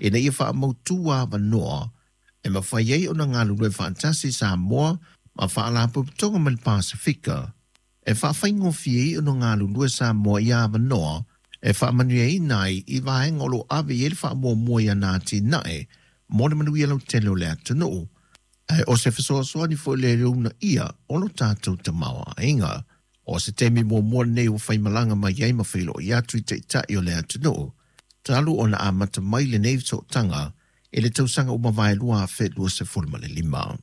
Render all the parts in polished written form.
ina ia faamautū avanoa e mafai ai ona galulue faatasi Samoa ma Faalapotopotoga mai le Pasefika e faafaigofie ai ona galulue Samoa i avanoa e faamanuiaina ai i vaega o lo o ave i ai le faamuamua i ana atinae mo le manuia lautele o le atunuu, ae o se fesoasoani foi lea i le uunaia o lo tatou tamaoaiga. O se taimi muamua lenei ua faimalaga mai ai ma feiloai atu i taitai o le atunuu, talu ona amata mai lenei sootaga i le tausaga ua mavae 2025.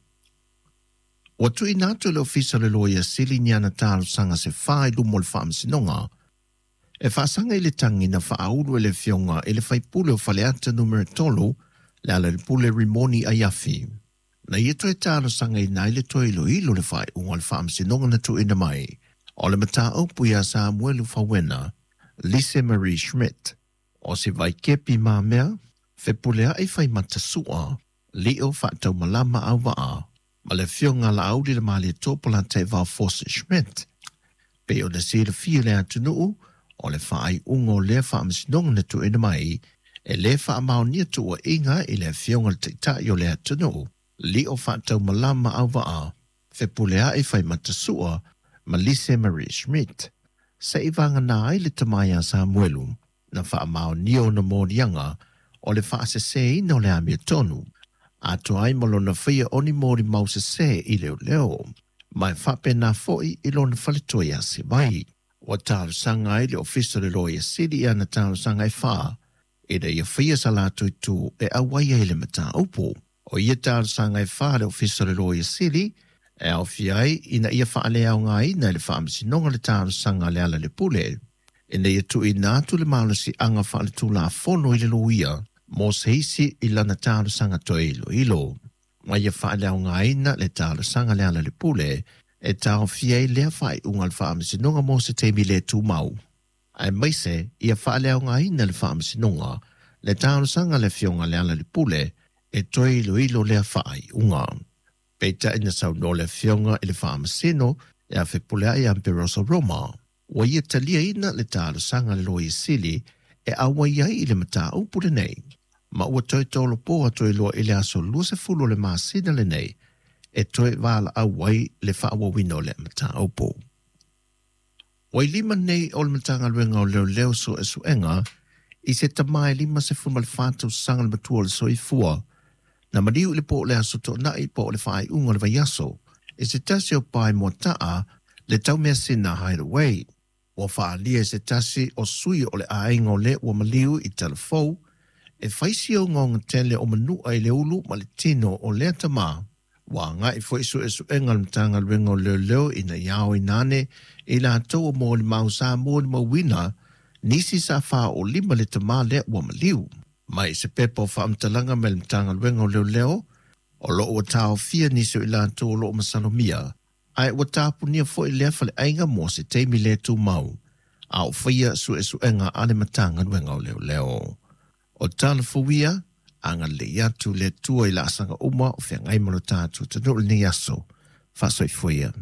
Ua tuuina atu e le Ofisa o le Loia Sili ni ana talosaga se fa i luma o le Faamasinoga e faasaga i le tagi na faaulu e le Afioga i le Faipule o Faleata Numera 3, Lealailepule Rimoni Aiafi. Na ia toe talosagaina ai le toe iloilo le faaiuga o le Faamasinoga na tuuina mai o le mataupu iā Samuelu Fauena, Lise Marie Schmidt, o se vaikepi mamea, fepuleai faimata sua, lio faataumalama auvaa, ma le Afioga ia Laauli Lemalietoa Polataivao Fosi Schmidt. Pei ona silafia e le atunuu, o le faaiuga o lea Faamasinoga na tuuina mai, e lē faamaonia tuuaiga i le Afioga i le Taitai o le atunuu, lio faataumalama auvaa, fepuleai faimatasua ma Lise Marie Schmidt. Seiavagana ai le tama ia Samuelu na faamaonia ona moliaga o le faaseseina o le amiotonu, atoa ai ma lona faia o ni molimau sesē i leoleo, ma e faapena foi i lona faletua ia Sivai. Ua talosaga ai le Ofisa o le Loia Sili i ana talosaga e fa, ina ia faia sa latou itu e auai ai i le mataupu. O ia talosaga e fa a le Ofisa o le Loia Sili, e aofia ai ina ia faaleaogaina e le Faamasinoga le talosaga a Lealailepule, ina ia tuuina atu le malosiaga faaletulafono i le loia mo se isi i lana talosaga toe iloilo, ma ia faaleaogaina le talosaga a Lealailepule e taofia ai lea faaiuga a le Faamasinoga mo se taimi le tumau, aemaise ia faaleaogaina e le Faamasinoga le talosaga a le Afioga a Lealailepule e toe iloilo lea faaiuga. Peitai na saunoa le Afioga i le Faamasino ia Fepuleai Amperoso Roma, ua ia taliaina le talosaga a le Loia Sili e auai ai i le mataupu lenei, ma ua toe tolopo atu ai loa i le aso 20 o le masina lenei e toe valaau ai le faaauauina o lea mataupu. Ua i lima nei o le Matagaluega o Leoleo suesuega i se tama e 54 tausaga le matua o le soifua na maliu i le po o le Aso Toonai po o le faaiuga o le vaiaso i se tasi o pae moataa le taumeasina Hideaway. Ua faaalia e se tasi o sui o le aiga o le ua maliu i Talafou e fai si ogaoga tele o manua i le ulu ma le tino o lea tama. Ua agai foi suesuega a le Matagaluega o Leoleo ina ia aoina ane i latou o molimau sa molimauina nisi sa faaoolima le tama lea ua maliu. Mai se pepa o faamatalaga mai le Matagaluega o Leoleo, o lo o ua taofia nisi o i latou o lo o masalomia, ae ua tapunia foi lea faleaiga mo se taimi le tumau, a o faia suesuega a le Matagaluega o Leoleo. O tala fou ia, agalelei atu le Atua i laasaga uma o feagai ma lo tatou atunuu i lenei aso. Faasoifua ia.